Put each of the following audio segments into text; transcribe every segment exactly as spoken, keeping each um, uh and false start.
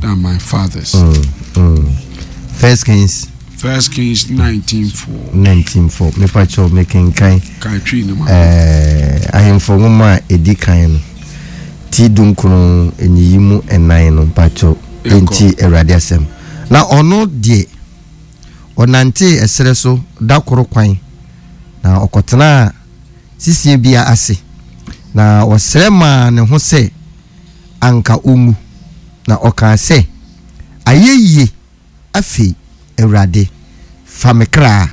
than my fathers. Mm, mm. First Kings. First Kings nineteen four. Nineteen four. Mepakyɛw mekenkan. Kan Twi no ma. Ɛɛ ahemfo nwoma a edi kan no ti dunkron nyiyi mu nnan no mpakyɛw enti Awurade asɛm. Na ɔno deɛ ɔnantee ɛserɛ so da koro kwan na ɔkɔtenaa sisie bi ase na ɔsrɛ maa ne ho sɛ anka ɔnwu na ɔkaa sɛ, Ayɛ yie afei, Awurade, fa me kra,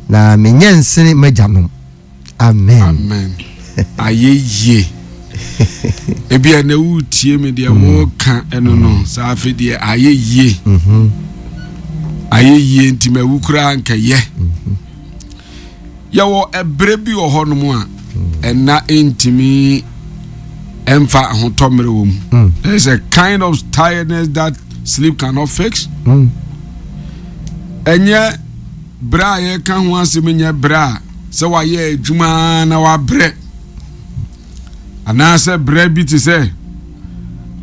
na menyɛ nsene m'agyanom. Amen. Amen. Ayɛ yie. Ebi a na woretie me deɛ mm. wɔreka ɛno no mm. saa afei deɛ ayɛ yie. Mm-hmm. Ayɛ yie nti mawu koraa nkɛyɛ. Mm-hmm. Yɛwɔ ɛberɛ bi wɔ hɔnom a ɛna ntumi ɛmfa ahotɔ mmerɛ wɔ mu. Mm. There is a kind of tiredness that sleep cannot fix. Mm. Ɛnyɛ berɛ a yɛka ho asɛm nyɛ berɛ a sɛ wayɛ adwuma na wabrɛ anaasɛ berɛ bi te sɛ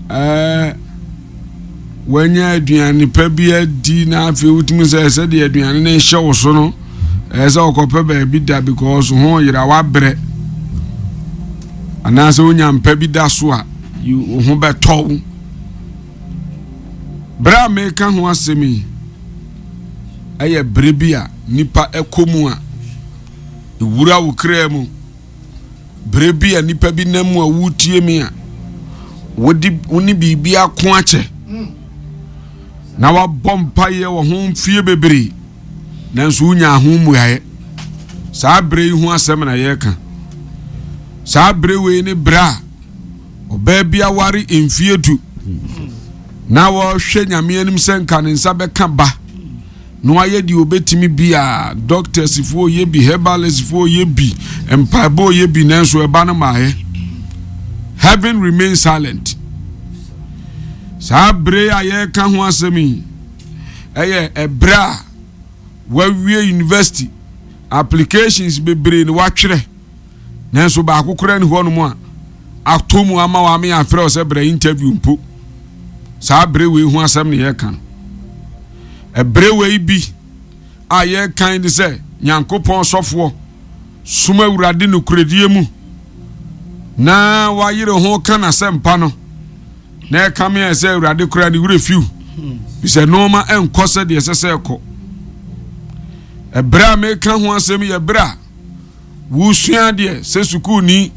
ɛɛ wanya aduane pa bi adi na afei wotumi sɛ sɛdeɛ aduane no hyɛ wo so no ɛyɛ sɛ ɔkɔpɛ baabi da because ho yera wabrɛ anaasɛ wonya mpa bi da so a wo ho bɛtɔ wo. Berɛ a meka ho asɛm yi ɛyɛ berɛ bi a nipa ɛkɔ mu a ɛwura wo kra mu. Berɛ bi a nipa bi nam mu a wotie mi a wode wo ne biribi ako akyɛ na wabɔ mpaeɛ wɔ ho mfie bebree nanso wonya ho mmuaeɛ. Saa berɛ yi ho asɛm na yɛreka. Saa berɛ wei ne berɛ a ɔbaa bi aware mfie du na wɔhwɛ Nyame anim sɛ nka ne nsa bɛka ba na wayɛ deɛ ɔbɛtumi biara. Doctors foɔ yɛ bi, herbalist foɔ yɛ bi, mpaebɔ yɛ bi, nanso ɛba no maayɛ. Heaven remain silent. Saa bere a yɛreka ho asɛm yi ɛyɛ ɛberɛ a wawie university, applications bebree na watwerɛ, nanso baako koraa ni hɔnom a atɔ mu ama wame afrɛ wo sɛ brɛ interview mpo. Saa bere wei ho asɛm na yɛreka no. Ɛberɛ wei bi a yɛrekan ne sɛ Nyankopɔn sɔfoɔ som Awurade nokorɛdie mu na wayere ho ka n'asɛmpa no na ɛka me sɛ Awurade koraa ne werɛ fiw sɛ nneɛma ɛnkɔ sɛ deɛ ɛsɛ sɛ ɛkɔ. Ɛberɛ a meka ho asɛm yɛ berɛ a wosua adeɛ sɛ sukuuni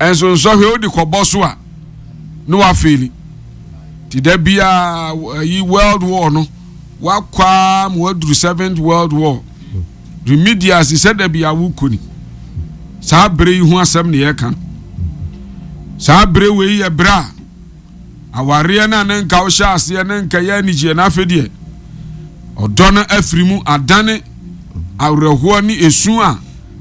nso nsɔhwɛ wode kɔbɔ so a na wafeeli. Nti da biara ayi world war no wakɔ ara ma waduru seventh world war remedials sɛ da bi a wokɔ ni. Saa bere yi ho asɛm na yɛka no. Saa bere wei yɛ bere a awareɛ no a ne nka wohyɛ aseɛ ne nka yɛ anigyeɛ na afei deɛ ɔdɔ no afiri mu adane awerɛhoɔ ne esu a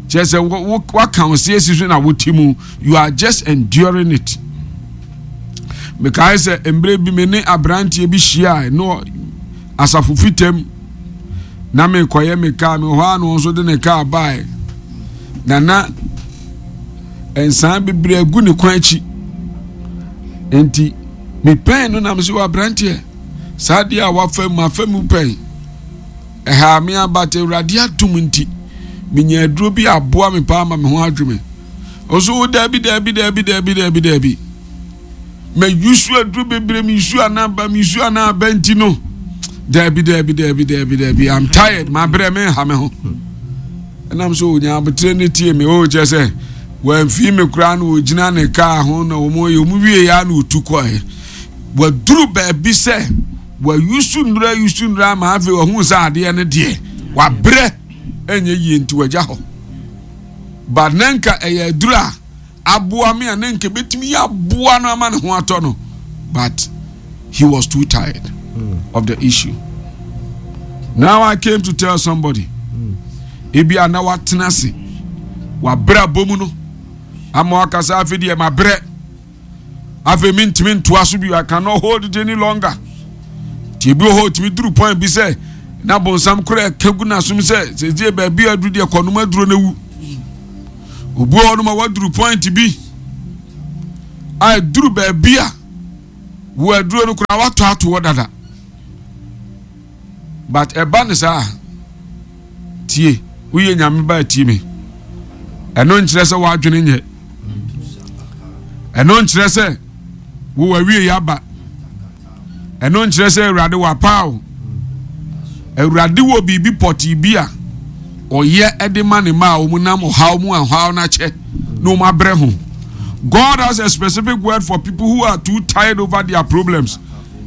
kyerɛ sɛ waka wo se asi so na wote mu. You are just enduring it. Mekae sɛ mmerɛ bi me ne aberanteɛ bi hyiae no asafo fitam na mekɔyɛ me kaa me hɔ a na ɔno nso de ne kaa bae na na nsan bebree agu ne kwan akyi nti mepɛn no nam sɛ wɔ aberanteɛ saa deɛ a wafa mu afa mu pɛn ɛhaa me abata Awurade atom nti menya aduro bi aboa me paa ma me ho adwo me. Ɔso wo daabi daabi daabi daabi daabi daabi mayusu aduro bebree meyusu anaba meyusu anaba nti no daabi daabi daabi daabi daabi I'm tired mabrɛ me nha me ho. Ɛnam so onya abotire ne tie me o kyɛ sɛ wɔamfii me koraa na wɔgyina ne kaa ho na wɔn yɛ wɔn wie ya na otu kɔɛ. Waduru baabi sɛ wayusu nnura yusu nnura ama afei wahu sɛ adeɛ no deɛ wabrɛ ɛnyɛ yie nti wagya hɔ. But na nka ɛyɛ aduru a aboa me a na nka ebetumi aboa no ama ne ho atɔ no, but he was too tired mm. of the issue. Now I came to tell somebody, mm. ebi a na watena ase wabrɛ abɔ mu no ama wakasa afei deɛ mabrɛ. Afei mentumi ntoa so bio, I cannot hold it any longer. Nti ebi wɔ hɔ otumi duru point bi sɛ na bonsam kora ɛka gu n'asom sɛ sɛsie baabi a aduru deɛ kɔnom aduro no awu. Obi wɔ hɔ nom a waduru point bi a ɛduru baabi a Wo aduro no koraa watɔ ato hɔ dada. But ɛba ne saa, tie, woyɛ Nyame ba, tie me. Ɛno nkyerɛ sɛ w'adwene nyɛ. Ɛno nkyerɛ sɛ wo awie yɛ aba. Ɛno nkyerɛ sɛ Awurade wapa o. Awurade wɔ biribi pɔtee bi a ɔyɛ de ma ne ma a wɔn nam ɔhaw mu, ɔhaw n'akyɛ na wɔn abrɛ ho. God has a specific word for people who are too tired over their problems,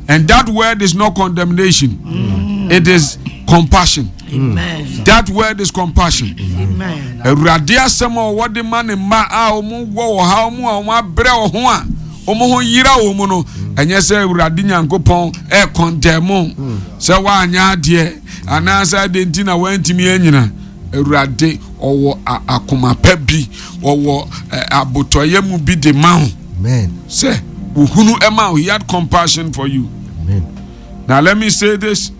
and that word is not condemnation. Mm. It is compassion. Amen. That word is compassion. Amen. Awurade asɛm a ɔwɔ de ma ne mma a wɔn wɔ ɔhaw mu a wɔn abrɛ wɔ ho a wɔn ho yera wɔn mu no, ɛnyɛ sɛ Awurade Nyankopɔn ɛcondemn sɛ wɔanyɛ adeɛ anaasɛ adeɛ nti na wɔantumi anyina. Awurade ɔwɔ akoma pa bi, ɔwɔ abotɔyɛ mu bi de ma wo sɛ ohunu ɛma wo. He had compassion for you. Amen. Now let me say this: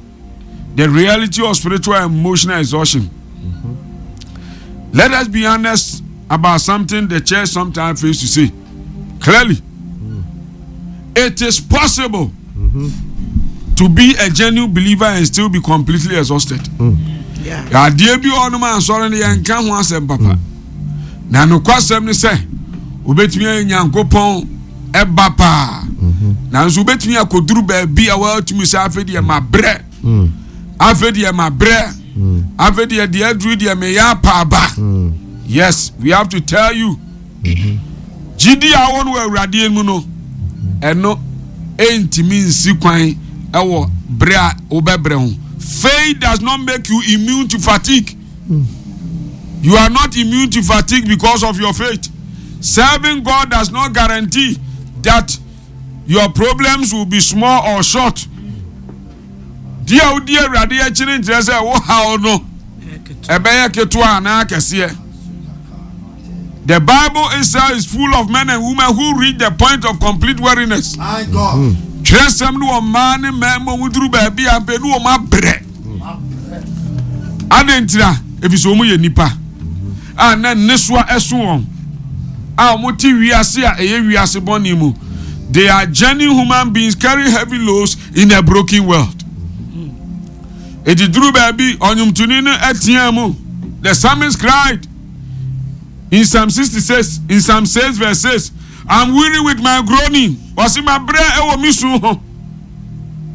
the reality of spiritual and emotional exhaustion. Mm-hmm. Let us be honest about something the church sometimes fails to say clearly. Mm. It is possible mm-hmm. to be a genuine believer and still be completely exhausted. Mm. Adeɛ bi wɔ hɔnom a nsɔre no yɛnka ho asɛm papa, na nokwasɛm ne sɛ wobɛtumi ayɛ Nyankopɔn ɛba paa, nanso wobɛtumi akɔduru baabi a wɔatumi sɛ afei deɛ mabrɛ, afei deɛ mabrɛ, afei deɛ deɛ aduru deɛ meyɛ apaaba. Yes, we have to tell you, gyidi a wɔn wɔ Awurade mu no, ɛno ɛntumi nsi kwan ɛwɔ bere a wobɛbrɛ ho. Faith does not make you immune to fatigue. You are not immune to fatigue because of your faith. Serving God does not guarantee that your problems will be small or short. Di a wodi Awurade akyi no nkyerɛ sɛ wo haw no ɛbɛyɛ ketewa anaa kɛseɛ. The Bible itself is full of men and women who reach the point of complete weariness. My God. Twerɛsɛm no wɔ mmaa ne mmarima mu duru baabi a mpɛ ne wɔn abrɛ. Adɛn ntira? Ɛfiri sɛ wɔn yɛ nipa a na nnesoa ɛso wɔn a wɔn te wiase a ɛyɛ wiase bɔne mu. They are genuine human beings carrying heavy loads in a broken world. Eti duru baabi, ɔnwomtoni no ɛtea mu. The psalmist cried in Psalm sixty-six, in Psalm six verse six, "I'm weary with my groaning." Wɔsi ma brɛ ɛwɔ mi sun ho.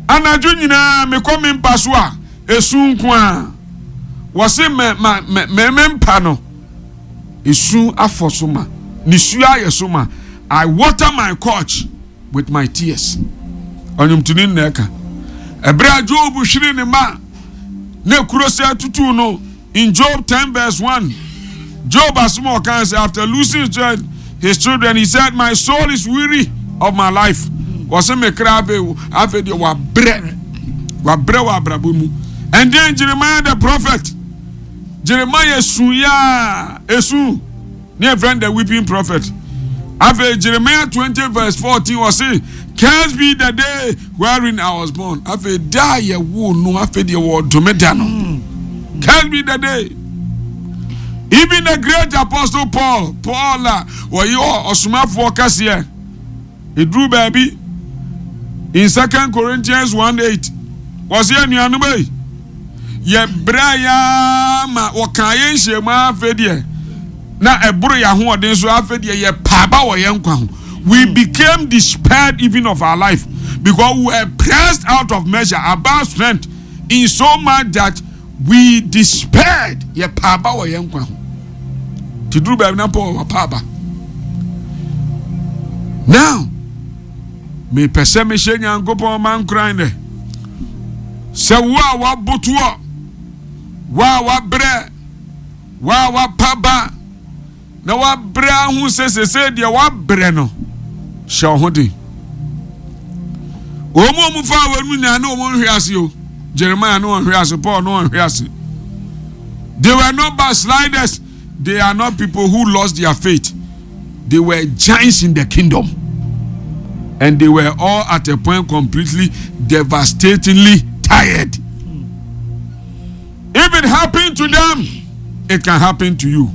Anadwo nyinaa mekɔ mi mpa so a, esu nko a. Wɔsi mɛ ma mɛ mɛ mɛ mpa no, esu afɔ so ma, nisuo ayɛ so ma. "I water my couch with my tears." Ɔnwomtoni nna ɛka. Ɛberɛ a Job hwere ne ma na ekuro sɛ tutu no, in Job ten verse one, Job asɛm a ɔka sɛ after losing his children, his children, he said, "My soul is weary of my life." Wɔsɛ me kra afei afei deɛ wabrɛ, wabrɛ wɔ abrabɔ mu. And then Jeremiah the prophet, Jeremiah su yaa esu ne yɛ friend, the weeping prophet. Afei Jeremiah twenty verse fourteen, wɔse, "Curse be the day wherein I was born." Afei da a yɛwoo no, afei deɛ wɔdome da no. Curse be the day. Even the great apostle Paul, Paul a wɔyɛ ɔsomafoɔ kɛseɛ, eduru baabi, in Second Corinthians one eight, wɔsi, "Anuanom yi, yɛbrɛ yaa ma wɔka yɛn nhyiamu, afei deɛ na ɛboro yɛn ahoɔden so, afei deɛ yɛ paaba wɔ yɛn nkwa ho. We became despaired even of our life because we were pressed out of measure, above strength, in so much that we despaired." Yɛ paaba wɔ yɛn nkwa ho te duru baabi na Paul wɔ paaba. Now mepɛ sɛ mehyɛ Nyankopɔn ma nkoran dɛ sɛ wo a wabotoɔ, wo a wabrɛ, wo a wapaba na wabrɛ ahu sɛ sese deɛ wabrɛ no, hyɛ wo ho den. Wɔn mu a wɔn fa wɔn mu nyinaa ne wɔn nhwe ase o. Jeremiah ne wɔn nhwe ase, Paul ne wɔn nhwe ase. They were not backsliders. They are not people who lost their faith. They were giants in the kingdom, and they were all at a point completely, devastatingly tired. If it happened to them, it can happen to you.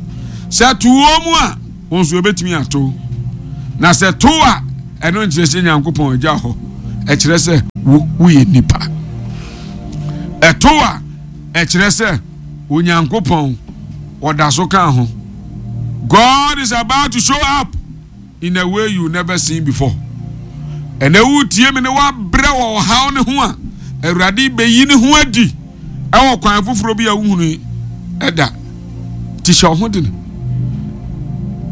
Sɛ to wɔn mu a, wɔn nso ebetumi ato. Na sɛ to a, ɛno nkyerɛ sɛ Nyankopɔn agya hɔ. Ɛkyerɛ sɛ wo woyɛ nipa. Ɛto a, ɛkyerɛ sɛ Onyankopɔn ɔda so ka ho. God is about to show up in a way you never seen before. Ɛnɛ wotie me ne wabrɛ wɔ ɔhaw ne ho a, Awurade bɛyi ne ho adi ɛwɔ kwan foforɔ bi a wohunu ɛda. Ti hyɛ ɔho den.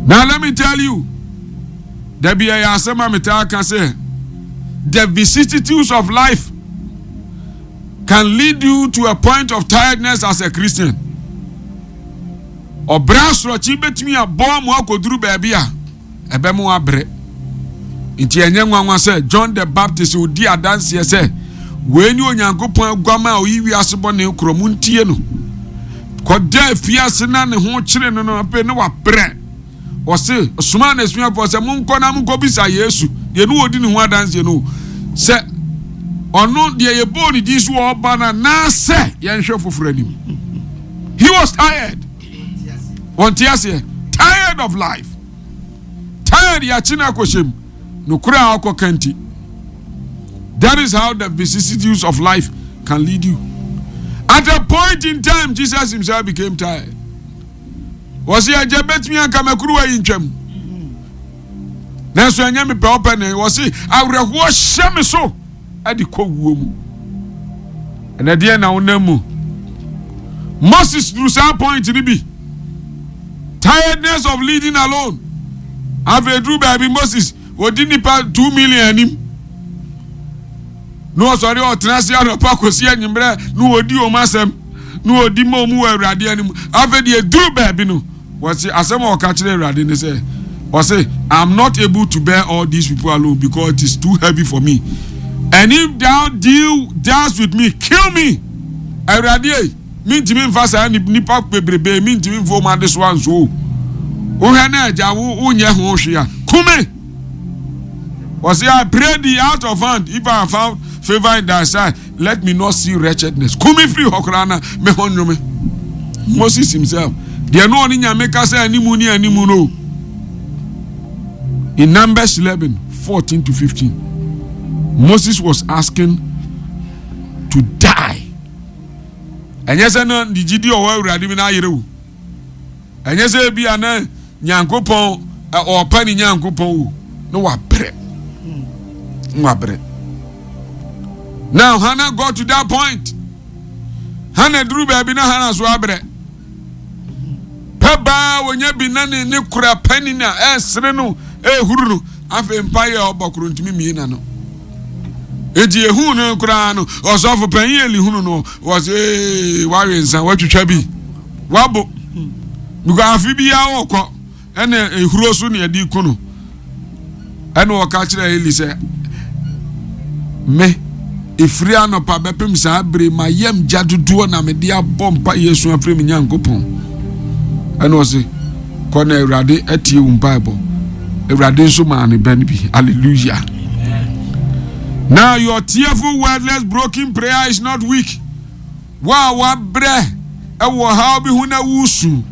Now let me tell you, dabi ɛyɛ asɛm a metaa ka sɛ the vicissitudes of life can lead you to a point of tiredness as a Christian. Ɔbrɛ asorɔkye bɛtumi abɔ mo akɔduru baabi a ɛbɛmo abrɛ. Nti ɛnyɛ nwanwa sɛ John the Baptist odi adanseɛ sɛ wei ne Onyankopɔn aguama a ɔyi wiase bɔne korɔ mu ntie no. Kɔda afiase na ne ho kyere no no afei ne wabrɛ. Ɔse ɔsomaa n'asuafoɔ sɛ monkɔ na monkɔbisa Yesu deɛ ne wɔdi ne ho adanseɛ no sɛ ɔno deɛ yɛbɔɔ ne din so wɔ ɔba no anaasɛ yɛnhwɛ foforɔ anim. He was tired. Wɔnte aseɛ. Tired of life. Tired yɛakye no akɔhyɛ mu. Nokorɛ a ɔkɔka nti. That is how the vicissitudes of life can lead you. At a point in time, Jesus himself became tired. Wɔsi agya betumi anka makuruwa yi ntwam. Nanso ɛnyɛ mepɛ ɔpɛ ne wɔsi awerɛhoɔ hyɛ me so ɛde kɔ wuo mu. Ɛnɛ deɛ na wonam mu. Moses duru saa point ni bi. Tiredness of leading alone. Afei duru baabi Moses odi nipa two million anim. Na ɔsɔre ɔtena ase anɔpa kɔsi anwummerɛ na ɔdi wɔn asɛm na ɔdi ma wɔn wɔ Awurade anim. Afei deɛ duru baabi no wɔsi asɛm a ɔka kyerɛ Awurade ne sɛ ɔse I'm not able to bear all these people alone because it is too heavy for me. And if thou deal thus with me, kill me. Awurade ei, mintumi nfa saa nipa bebrebe mintumi nfa wɔn adesoa nso o. Wohwɛ na agya wo wonyɛ ho hwee a, kume. Wɔsi I pray thee out of hand if I have found favor in thy sight, let me not see wretchedness. Kume firi hɔ koraa na me ho nnwome. Moses himself, deɛ no ɔne Nyame kasa animu ne animu no. In Numbers eleven, fourteen to fifteen, Moses was asking to die. Ɛnyɛ sɛ na ne gyidi ɔwɔ Awurade mi na ayere wo. Ɛnyɛ sɛ ebi a na Nyankopɔn ɔɔpa ne Nyankopɔn wo na wabrɛ. Na wabrɛ. Now Hannah got to that point. Hannah duru baabi na Hannah so abrɛ. Pɛ baa wonya bi na ne ne kura pani na ɛsere no ɛhuru no. Afei mpa yɛ ɔbɔ koro ntumi mie na no. Enti ehu no koraa no ɔsɔfo panyin Eli hunu no wɔsɛ ee wawe nsa watwitwa bi wabo because afe biara wɔkɔ ɛna ehuro so na yɛde ku no. Ɛna ɔka kyerɛ Eli sɛ me efiri anɔpa bɛpem saa bere ma yam gya dodoɔ na mede abɔ mpa Yesu afiri me Nyankopɔn. Ɛna ɔse kɔ na Awurade atie wo mpaebɔ. Awurade nso maa ne ba no bi. Hallelujah. Now your tearful, wordless, broken prayer is not weak. Wa wabrɛ ɛwɔ ɔhaw bi ho na wusu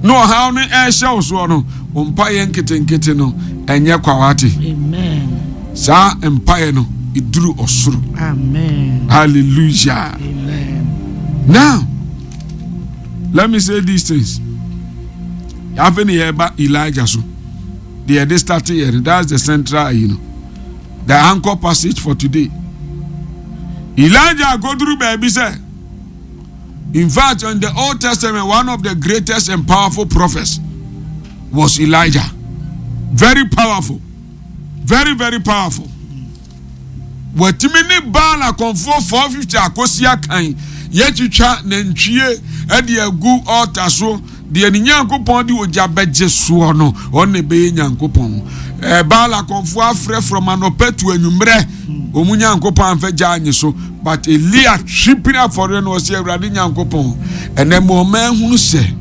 na ɔhaw no ɛrehyɛ wo soɔ no, wo mpaeɛ nketenkete no ɛnyɛ kwawate. Amen. Saa mpaeɛ no ɛduru ɔsoro. Amen. Hallelujah. Amen. Now, let me say these things. Afei ne yɛba Elijah so. Deɛ yɛde start yɛ no, that's the central, you know, the anchor passage for today. Elijah akoduru baabi sɛ, in fact, in the Old Testament, one of the greatest and powerful prophets was Elijah. Very powerful. Very, very powerful. Watumi ne Baal akɔmfoɔ four fifty akosi akan yɛtwitwa nantwie de agu altar so deɛ ne Nyankopɔn de ogya bɛgye soɔ no ɔno na ɛbɛyɛ Nyankopɔn. Ɛɛ Baal akɔmfoɔ afrɛ from anɔpa to anwummerɛ wɔn Nyankopɔn amfa gya anye so, but Elia twe pini afɔreɛ no ɔsɛ Awurade Nyankopɔn ɛnɛ ma ɔma ahunu sɛ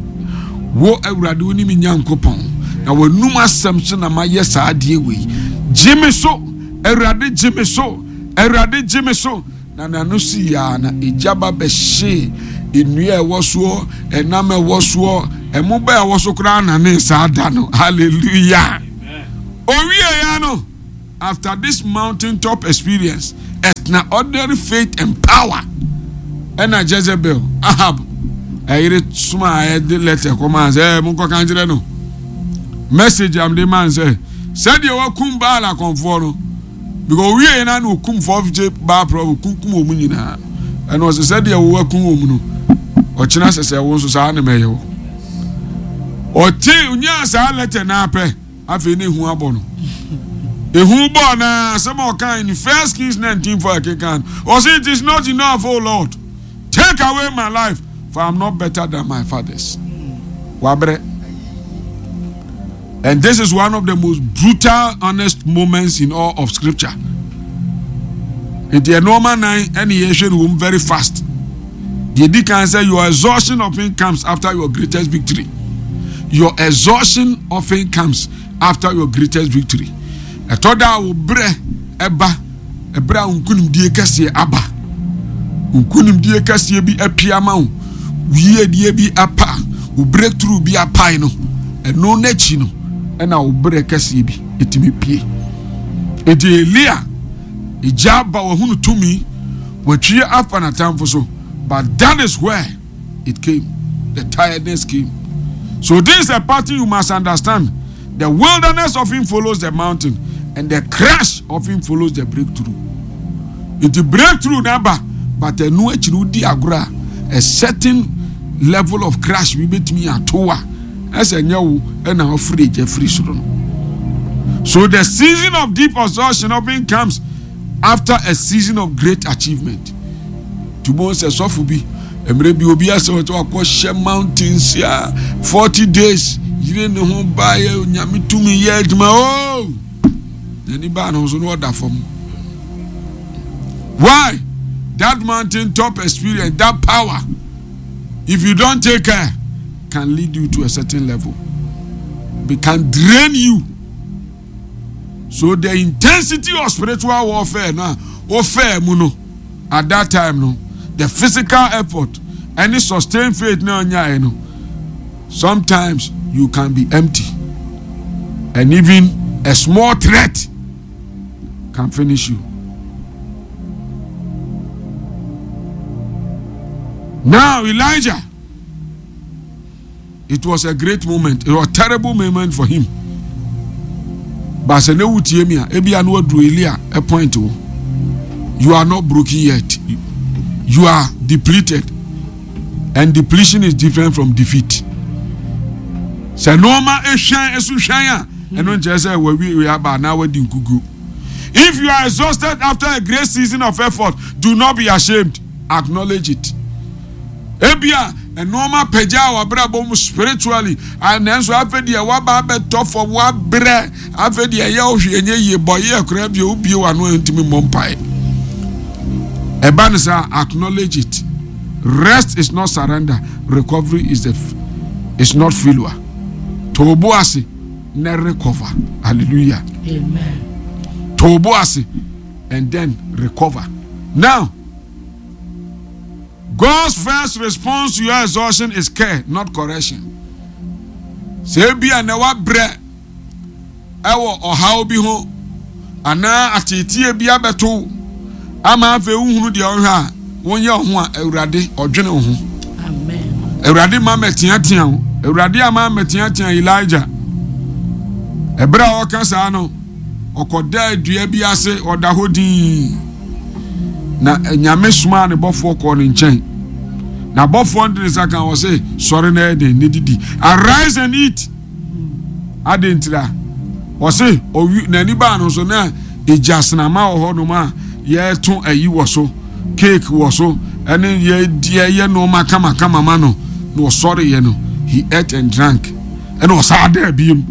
wo Awurade wo ne me Nyankopɔn na w'anum asɛm so na mayɛ saa adeɛ wei. Gye me so Awurade, gye me so Awurade, gye me so. Na n'ano si yaa na egya ba bɛhyee nnua a ɛwɔ soɔ, ɛnam a ɛwɔ soɔ, ɛmo ba a ɛwɔ so koraa na ne saa da no. Hallelujah. Owie ya no, After this mountaintop experience, extraordinary faith and power, ɛna Jezebel, Ahab, ɛyere soma a ɛde letter kɔmaa sɛ, monkɔka nkyerɛ no. Message am de man sɛ, sɛdeɛ wakum Baal akɔmfoɔ no, because owie yɛn na okum four fifty Baal prophet, kunkum wɔn nyinaa. Ɛna ɔsɛ sɛdeɛ wakum wɔn no, ɔkyena sɛ sɛ wɔn nso saa na mɛyɛ wɔ. Ɔte onyaa saa letter na apɛ, afei ne ehu abɔ no. Ehu bɔ na asɛm a ɔka in First Kings nineteen four ɛkenkan. Ɔsɛ it is not enough, O Lord, take away my life, for I am not better than my fathers. Wabrɛ. And this is one of the most brutal, honest moments in all of Scripture. Nti ɛnneɛma nan ɛna yɛhwɛ no wɔm very fast. Deɛ di kan sɛ your exhaustion often comes after your greatest victory. Your exhaustion often comes after your greatest victory. Ɛtɔ da a wo brɛ ɛba ɛbrɛ a nkunimdie kɛseɛ aba. Nkunimdie kɛseɛ bi apia ma wo. Yiedie bi apa. Wo breakthrough bi apae no. Ɛno n'akyi no ɛna wo brɛ kɛseɛ bi ɛtumi pie. Eti Elia egya aba wahunu tumi watwie afa n'atamfo so, but that is where it came. The tiredness came. So this is a pattern you must understand. The wilderness often follows the mountain, and the crash often follows the breakthrough. Nti breakthrough n'aba, but ɛno akyi no wodi agorɔ a, a certain level of crash bi betumi ato a, ɛsɛ nyɛ wo ɛna ɔfiri egya firi soro no. So the season of deep exhaustion often comes after a season of great achievement. Tubo sɛ sɔfo bi mmerɛ bi obi asɛ wɔtɔ akɔhyɛ mountains a forty days yire ne ho baayɛ Nyame tumi yɛ adwuma ooo n'ani baa ne ho so na ɔda fam. Why? That mountain top experience, that power, if you don't take care, can lead you to a certain level. It can drain you. So the intensity of spiritual warfare now, warfare mu no, at that time no, the physical effort, any sustained faith now, no, sometimes you can be empty, and even a small threat can finish you. Now Elijah, it was a great moment. It was a terrible moment for him. But sɛ ne wutie mi a, ebi anu aduru Elia a point wo. You are not broken yet. You are depleted. And depletion is different from defeat. Sɛ nneɛma ehwɛn esu hwɛn a, ɛno nkyerɛ sɛ wawie wei aba anaa wadi nkugu. If you are exhausted after a great season of effort, do not be ashamed. Acknowledge it. Ebia nneɛma pagya a wabrabɔ mu spiritually, nanso afei deɛ waba abɛtɔ fam wabrɛ, afei deɛ ɛyɛ ɔhwɛ enye yie bɔyɛ akora bi obie wano a ntumi mmɔ mpae. Ɛba ne saa, acknowledge it. Rest is not surrender. Recovery is the is not failure. Tobo ase na recover. Hallelujah. Amen. Tobo ase and then recover. Now, God's first response to your exhaustion is care, not correction. Sɛ ebi a na wabrɛ ɛwɔ ɔhaw bi ho anaa ateetie bi abɛto ama afei wohunu deɛ ɔhwɛ a wonyɛ ho a, Awurade ɔdwene wo ho. Amen. Awurade ma mɛteatea wo. Awurade ama mɛteatea Elijah. Ɛberɛ a ɔka saa no, ɔkɔda dua bi ase, ɔda hɔ dinn. Na Nyame somaa ne bɔfoɔ kɔɔ ne nkyɛn. Na bɔfoɔ no de ne nsa ka wɔ se, sɔre na ɛyɛ den ne didi. Arise and eat. Ade ntira. Ɔse, ɔwi n'ani baa no so na egya senama wɔ hɔnom a yɛto ayi wɔ so, cake wɔ so, ɛne yɛyɛ nneɛma kamakama ma no. Na ɔsɔreeɛ no, he ate and drank. Ɛna ɔsan da abiem.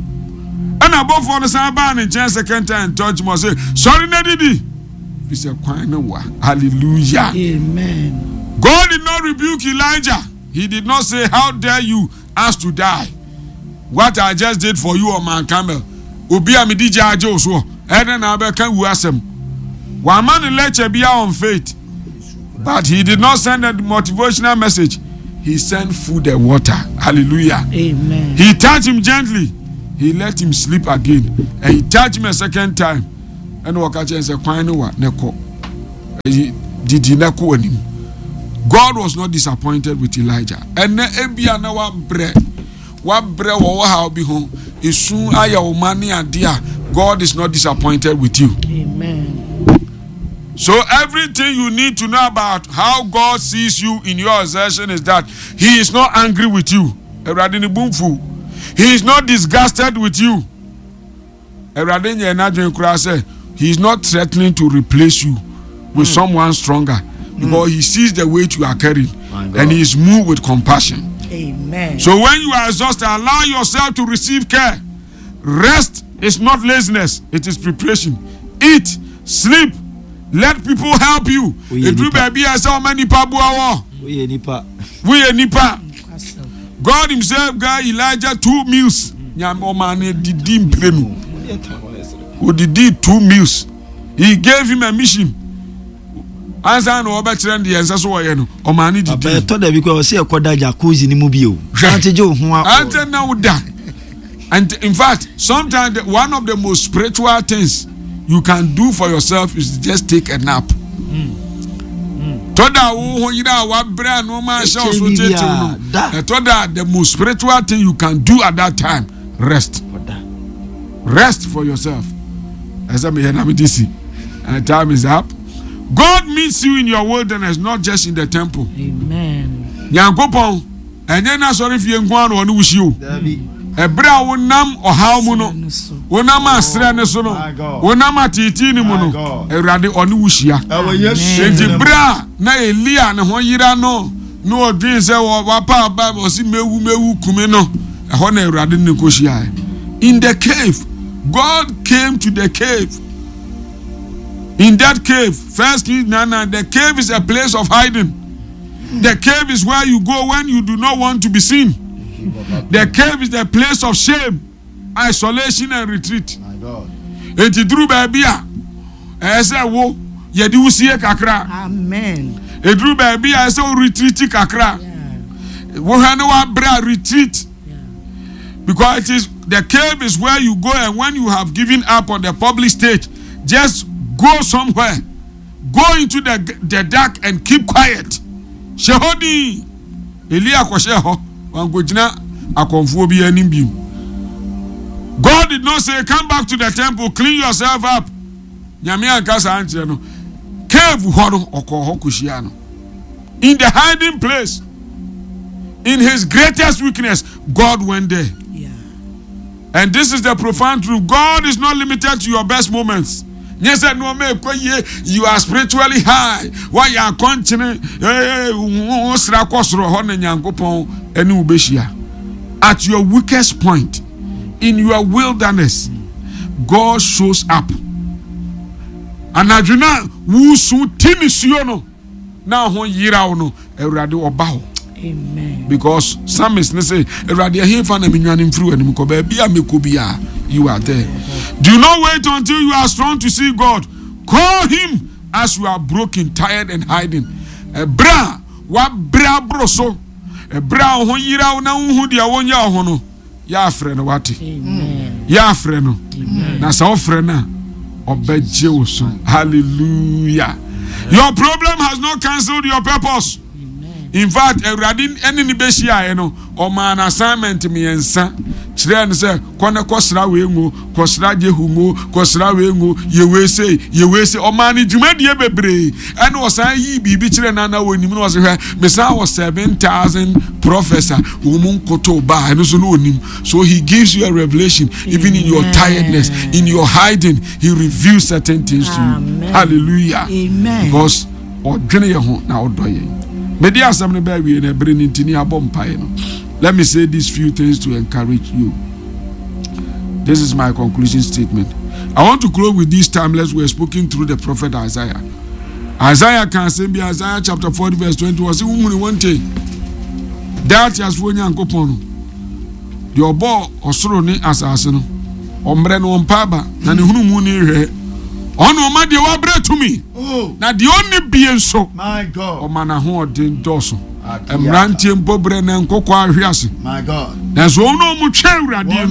Ɛna abɔfoɔ no san baa ne nkyɛn second time touch mu, ɔse, sɔre na didi. Fi sɛ kwan no wa. Hallelujah. Amen. God did not rebuke Elijah. He did not say, how dare you ask to die? What I just did for you on Mount Carmel. Obi a medi gya agye wo soɔ. Ɛdɛn na abɛka wu asɛm. Wama ne lecture bia on faith. But he did not send a motivational message. He sent food and water. Hallelujah. Amen. He touched him gently. He let him sleep again. And he touched him a second time. Ɛna ɔka kyerɛ sɛ kwan no wa ne kɔ. Didi na kɔ anim. God was not disappointed with Elijah. Ɛnɛ ebia na wabrɛ wabrɛ wɔ wɔ ha bi ho esu ayɛ wo ma ne ade a, God is not disappointed with you. Amen. So everything you need to know about how God sees you in your exertion is that He is not angry with you. Awurade ne bo mfu. He is not disgusted with you. Awurade nyɛ n'adwene koraa sɛ He is not threatening to replace you with mm. someone stronger because mm. He sees the weight you are carrying and He is moved with compassion. Amen. So when you are exhausted, allow yourself to receive care. Rest is not laziness, it is preparation. Eat, sleep, let people help you. Eduru baabi a ɛsɛ ɔma nipa boa wɔ. Woyɛ nipa. Woyɛ nipa. God himself gave Elijah two meals. Nyame ɔma ne didi mprenu. Odidi two meals. He gave him a mission. Ansa na ɔbɛkyerɛ no deɛ ɛnsɛ so wɔyɛ no, ɔma ne didi. Ɛtɔ da bi kɔ ɔsɛ ɛkɔda jacuzzi ni mu bi o. Hwɛ. Ante gye wo ho a. Ante na wo da. And in fact, sometimes the, one of the most spiritual things you can do for yourself is just take a nap. Tɔ da wo ho yere a wabrɛ a nneɛma ahyɛ wo so tetew no. Ɛtɔ da the most spiritual thing you can do at that time, rest. Rest for yourself. Ɛsɛ meyɛ na mede si. And time is up. God meets you in your wilderness, not just in the temple. Amen. Nyankopɔn, ɛnyɛ n'asɔre fie nko ara na ɔne wo hyia o. Ɛberɛ a wonam ɔhaw mu no, wonam asrɛ no so no, wonam ateetee no mu no, Awurade ɔne wo hyia. Enti berɛ a na Elia ne ho yera no, na ɔdwen sɛ wapa aba, ɔsi mewu mewu kume no, ɛhɔ na Awurade ne kɔ hyiae. In the cave, God came to the cave. In that cave, First Kings nine nine, the cave is a place of hiding. The cave is where you go when you do not want to be seen. The cave is the place of shame, isolation and retreat. Enti duru baabi a ɛyɛ sɛ wo yɛde wo sie kakra. Amen. Eduru baabi a ɛsɛ wo retreat kakra. Wohwɛ ne wabrɛ a, retreat. Because it is the cave is where you go, and when you have given up on the public stage, just go somewhere. Go into the, the dark and keep quiet. Hyɛ hɔ din. Elia kɔhyɛ hɔ. Wankɔgyina akɔmfoɔ bi anim bio. God did not say, "Come back to the temple, clean yourself up." Nyame anka saa nkyerɛ no. Cave hɔ no, ɔkɔɔ hɔ kɔhyia no. In the hiding place, in his greatest weakness, God went there. Yeah. And this is the profound truth. God is not limited to your best moments. Nyɛ sɛ nneɛma ɛkɔ yie, you are spiritually high, woayɛ akɔnkyene, ee wo sra kɔ soro hɔ na Nyankopɔn ɛne wo bɛhyia. At your weakest point, in your wilderness, God shows up. Anadwo na wusu ti nisuo no na ho yeraw no, Awurade ɔba hɔ. Amen. Because psalmist ne say, "Awurade, ɛhefa na menwane mfiri w'anim kɔ? Baabi a mekɔ biara, you are there." Do not wait until you are strong to see God. Call him as you are broken, tired and hiding. Ɛberɛ a wabrɛ aboro so, ɛberɛ a wo ho yeraw na wohu deɛ wonyɛ wo ho no, yɛ afrɛ no wate. Amen. Yɛ afrɛ no na sɛ wofrɛ no a, ɔbɛgye wo so. Hallelujah. Your problem has not cancelled your purpose. In fact, Awurade ɛne ne bɛhyiaeɛ no, ɔmaa no assignment mmiɛnsa kyerɛɛ no sɛ kɔ ne kɔsra wei ngo, kɔsra Jehu ngo, kɔsra wei ngo, yɛ wei sei, yɛ wei sei. Ɔmaa no dwumadie bebree, ɛna ɔsan yii biribi kyerɛ no ana wɔnim no, ɔsɛ hwɛ, mesan wɔ seven thousand prophets a wɔn mu nkoto baa ɛno so no onim. So he gives you a revelation even in your tiredness, in your hiding, he reveals certain things to you. Amen. Hallelujah. Amen. Because ɔdwene yɛn ho na ɔdɔ yɛn. Mede asɛm no bɛɛ wie na ɛbere no nti ne abɔ mpaeɛ no. Let me say these few things to encourage you. This is my conclusion statement. I want to close with these timeless words spoken through the prophet Isaiah. Isaiah kan asɛm bi, Isaiah chapter forty verse twenty, wɔ sɛ wohunu wɔn nte daa teasefoɔ Nyankopɔn no, deɛ ɔbɔɔ ɔsoro ne asase no, ɔmmerɛ no ɔmpa aba na ne hunu mu ne hwɛ ɔno ɔma deɛ wabrɛ tumi na deɛ ɔnni bie nso ɔma n'ahoɔden dɔɔso. Mmeranteɛ mpo brɛ na nkokɔ ahwe ase, nanso wɔn a wɔtwɛn Awurade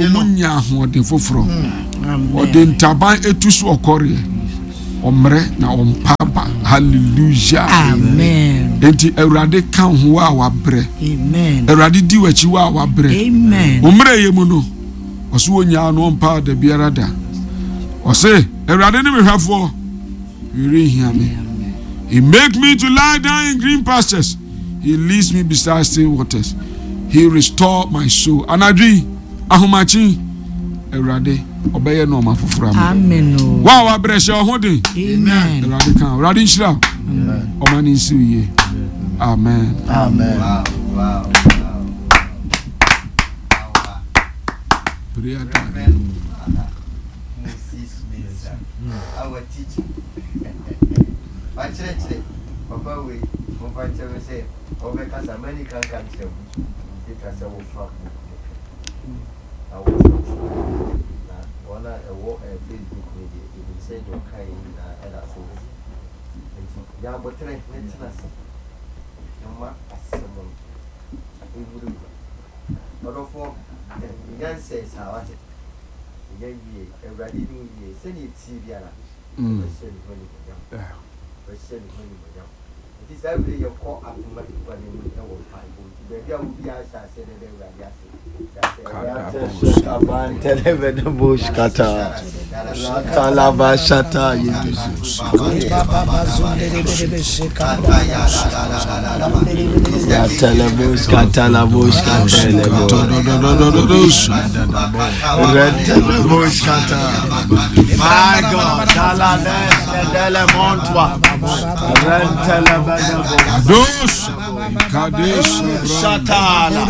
no, wɔn nya ahoɔden foforɔ. Ɔde ntaban etu so ɔkɔreɛ. Ɔmmerɛ na ɔmpa ba. Hallelujah. Amen. Enti Awurade ka ho a wabrɛ. Amen. Awurade di w'akyi wa a wabrɛ. Amen. Wo mmerɛ yɛ mu no, ɔso wɔnyaa no ɔmpa da biara da. Ɔse, Awurade ne me hwɛfoɔ, hwee me. He make me to lie down in green pastures. He leads me beside still waters. He restore my soul. Anadwo yi, ahomakye, Awurade, ɔbɛyɛ nneɛma foforɔ ama. Amen. o. Wa a wabrɛ hyɛ ɔho den. Amen. Awurade ka, Awurade nhyira wo. Ɔma ne nsi wo yie. Amen. Amen. Wow, wow, wow. Prayer time. Reverend Father Moses Mensah, our teacher. Wakyerɛkyerɛ papa wei momfa nkyerɛ me sɛ ɔbɛkasa mani kanka nkyerɛ wo ɛtwa sɛ wofa book no kɛ na wɔkyerɛkyerɛ na wɔn a ɛwɔ eh, Facebook no deɛ ɛnim sɛ deɛ ɔka yɛ nyinaa ɛda so wɔ nti nya aboterɛ ne tena ase na ma asɛm no ɛwura mu ɔdɔfoɔ nya nsɛe saa wate ɛnya wie awurade ne wo wie sɛdeɛ ɛtie biara Mm. ɔbɛhyɛ ne ho animuonyam Yeah. ɔbɛhyɛ ne ho animuonyam nti saa bere yɛkɔ adoma agua no anim ɛwɔ mpaebɔ nti baabi a wobiara hyɛ aseɛ dɛ dɛ awurade ase hyɛ aseɛ Talabashata yedusu. Ratalabush katalabush katalabo. Retalabush kata. My God, Dalales dele montwa. Rentelebedebo. Kados. Kadesh. Shatala.